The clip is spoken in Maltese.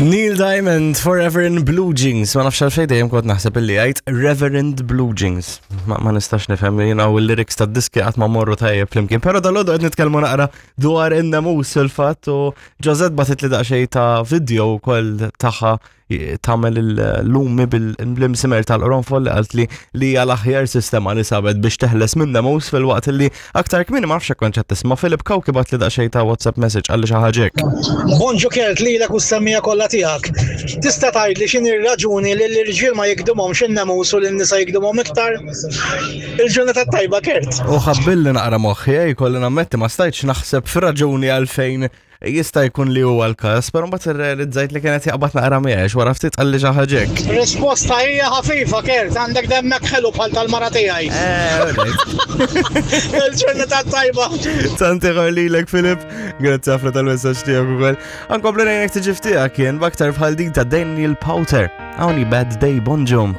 Neil Diamond, Forever in Blue Jeans. Ma nafx għalfejn dejjem kont naħseb illi għajt Reverend Blue Jeans. Ma, ma nistax nifhem jiena u l-lyrics tad-diski qatt ma morru tajjeb flimkien. Però dal-għodu qed nitkellmu naqra dwar in-nemus fil-fatt u Josette batit li daqsxejn ta' video wkoll tagħha tagħmel il-lumi bil-imsimer tal-qronfol li qalt li li hija l-aħjar sistema li sabet biex teħles minn nemus fil-waqt li aktar kmieni ma nafx hekk kont qed tisma' Philip Cauchi bagħat li daqsxejn ta' WhatsApp message qalli xi ħaġa hekk. Bonġu Kurt lilek u s-semmiegħa kollha tiegħek. Tista' tgħidli x'inhi r-raġuni li l-irġiel ma jikdimhomx in-nemus u lin-nisa jikdimhom iktar? Il-ġurnata t-tajba Kurt. U ħabbilli naqra moħħi, eh, jkolli nammetti ma stajtx naħseb f'raġuni għalfejn Jista' jkun li huwa l-każ, però mbagħad irrealizzajt li kienet jaqbad naqra miegħek wara ftit qalli xi ħaġa hekk. Risposta hija ħafifa, Kurt, għandek demmek ħelu bħal tal-mara tiegħi. Eh, Il-ġurnata tajba. Tant ieħor lilek Filip, grazzi ħafna tal-messaġġ tiegħek ukoll. Ankomplu ngħinek tiġi ftiegħek jien b'aktar bħal din ta' Daniel Powter. Hawn Bad Day Bonġum.